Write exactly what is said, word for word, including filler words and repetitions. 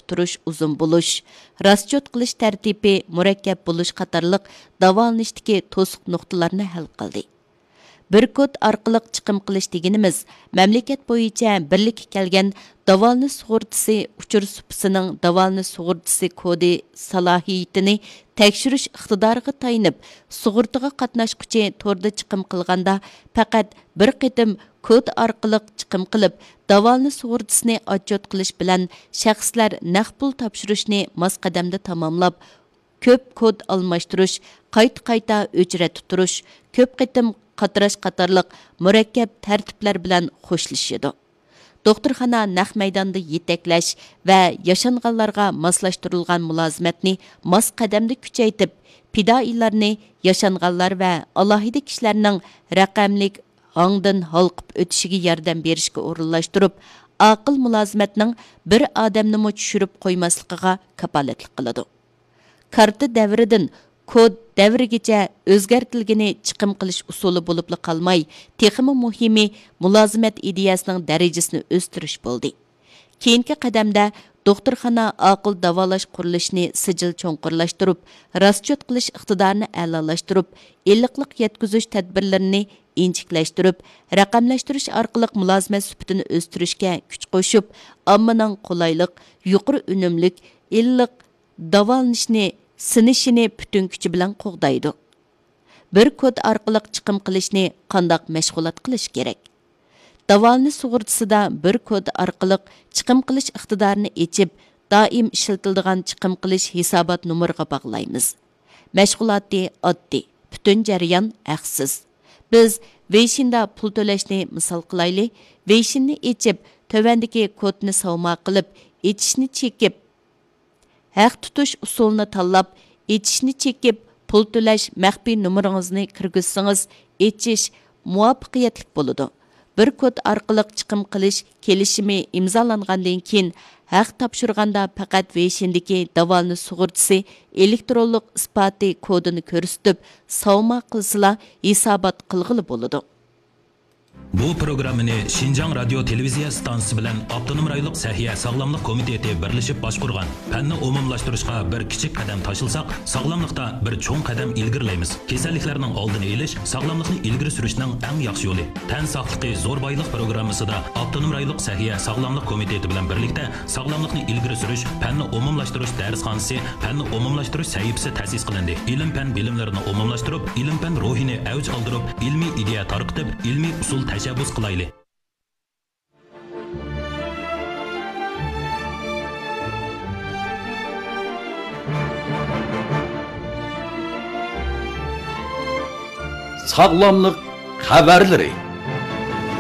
تۇرۇش ئۇزۇن بولۇش، راسچوت قىلىش تەرتىپى مۇرەككەپ بولۇش قاتارلىق داۋالىنىشتىكى توسۇق نۇقتىلارنى ھەل قىلدى. بىر كود ئارقىلىق چىقىم قىلىش دېگىنىمىز، مەملىكەت بويىچە بىرلىككە كەلگەن داۋالىنىش سۇغۇرتىسى ئۇچۇر سۇپىسىنىڭ داۋالىنىش سۇغۇرتىسى كودى سالاھىيىتىنى تەكشۈرۈش ئىقتىدارىغا تايىنىپ، سۇغۇرتىغا قاتناشقۇچى توردا چىقىم قىلغاندا پەقەت بىر قېتىم كود ئارقىلىق چىقىم قىلىپ، داۋالىنىش سۇغۇرتىسىنى ئاتچوت قىلىش بىلەن شەخسلەر نەق پۇل تاپشۇرۇشنى ماس قەدەمدە تاماملاپ، كۆپ كود ئالماشتۇرۇش، قايتا-قايتا ئۆچرەتتە تۇرۇش، كۆپ قېتىم قاتراش قاتارلىق مۇرەككەپ تەرتىپلەر بىلەن خوشلىشىدۇ. دوختۇرخانا نەق مەيداندا يېتەكلەش ۋە ياشانغانلارغا ماسلاشتۇرۇلغان مۇلازىمەتنى ماس قەدەمدە كۈچەيتىپ، پىدائىيلارنى ياشانغانلار ۋە ئالاھىدە كىشىلەرنىڭ رەقەملىك ھاڭدىن ھالقىپ ئۆتۈشىگە ياردەم بېرىشكە ئورۇنلاشتۇرۇپ، ئاقىل مۇلازىمەتنىڭ بىر ئادەمنىمۇ چۈشۈرۈپ قويماسلىقىغا كاپالەتلىك قىلىدۇ. كارتا دەۋرىدىن كود دەۋرىگىچە ئۆزگەرتىلگىنى چىقىم قىلىش ئۇسۇلى بولۇپلا قالماي، تېخىمۇ مۇھىمى، مۇلازىمەت ئىدىيەسىنىڭ دەرىجىسىنى ئۆستۈرۈش بولدى. كېيىنكى قەدەمدە دوختۇرخانا ئاقىل داۋالاش قۇرۇلۇشىنى سىجىل چوڭقۇرلاشتۇرۇپ، راسچوت قىلىش ئىقتىدارىنى ئەلالاشتۇرۇپ، ئىللىقلىق يەتكۈزۈش تەدبىرلىرىنى ئىنچىكىلەشتۈرۈپ، رەقەملەشتۈرۈش ئارقىلىق مۇلازىمەت سۈپىتىنى ئۆستۈرۈشكە كۈچ قوشۇپ، ئاممىنىڭ قولايلىق، يۇقىرى ئۈنۈملۈك، ئىللىق داۋالىنىشنى، سىنىشىنى پۈتۈن كۈچى بىلەن قوغدايدۇ. بىر كود ئارقىلىق چىقىم قىلىشنى قانداق مەشغۇلات قىلىش كېرەك؟ داۋالىنىش سۇغۇرتىسىدا بىر كود ئارقىلىق چىقىم قىلىش ئىقتىدارىنى ئېچىپ، دائىم ئىشلىتىلىدىغان چىقىم قىلىش ھېسابات نومۇرىغا باغلايمىز. مەشغۇلاتى ئاددىي، پۈتۈن جەريان ھەقسىز. بىز ۋېيشىندا پۇل تۆلەشنى مىسال قىلايلى. ۋېيشىننى ئېچىپ، تۆۋەندىكى كودنى ساۋما قىلىپ، ئېچىشنى چېكىپ، ھەق تۇتۇش ئۇسۇلىنى تاللاپ، ئېچىشنى چېكىپ، پۇل تۆلەش مەخپىي نومۇرىڭىزنى كىرگۈزسىڭىز، ئېچىش مۇۋەپپەقىيەتلىك بولىدۇ. بىر كود ئارقىلىق چىقىم قىلىش كېلىشىمى ئىمزالانغاندىن كېيىن، ھەق تاپشۇرغاندا پەقەت ۋېيشىندىكى داۋالىنىش سۇغۇرتىسى ئېلېكترونلۇق ئىسپاتى كودىنى كۆرسىتىپ، ساۋما قىلسىلا، ھېسابات قىلغىلى بولىدۇ. بۇ پروگراممىنى شىنجاڭ رادىيو تېلېۋىزىيە ئىستانسىسى بىلەن ئاپتونوم رايونلۇق سەھىيە ساغلاملىق كومىتېتى بىرلىشىپ باشقۇرغان. پەننى ئومۇملاشتۇرۇشقا بىر كىچىك قەدەم تاشلىساق، ساغلاملىقتا بىر چوڭ قەدەم ئىلگىرىلەيمىز. كېسەللىكلەرنىڭ ئالدىنى ئېلىش، ساغلاملىقنى ئىلگىرى سۈرۈشنىڭ ئەڭ ياخشى يولى. تەن ساقلىقى زور بايلىق پروگراممىسىدا ئاپتونوم رايونلۇق سەھىيە ساغلاملىق كومىتېتى بىلەن بىرلىكتە ساغلاملىقنى ئىلگىرى سۈرۈش، پەننى ئومۇملاشتۇرۇش دەرسخانىسى، پەننى ئومۇملاشتۇرۇش سەھىپىسى تەسىس قىلىندى. ئىلىم-پەن بىلىملىرىنى ئومۇملاشتۇرۇپ، ئىلىم-پەن روھىنى ئەۋج ئالدۇرۇپ، ئىلمىي ئىدىيە تارقىتىپ، ئىلمىي ئۇسۇل تەشەببۇس قىلايلى. ساغلاملىق خەۋەرلىرى.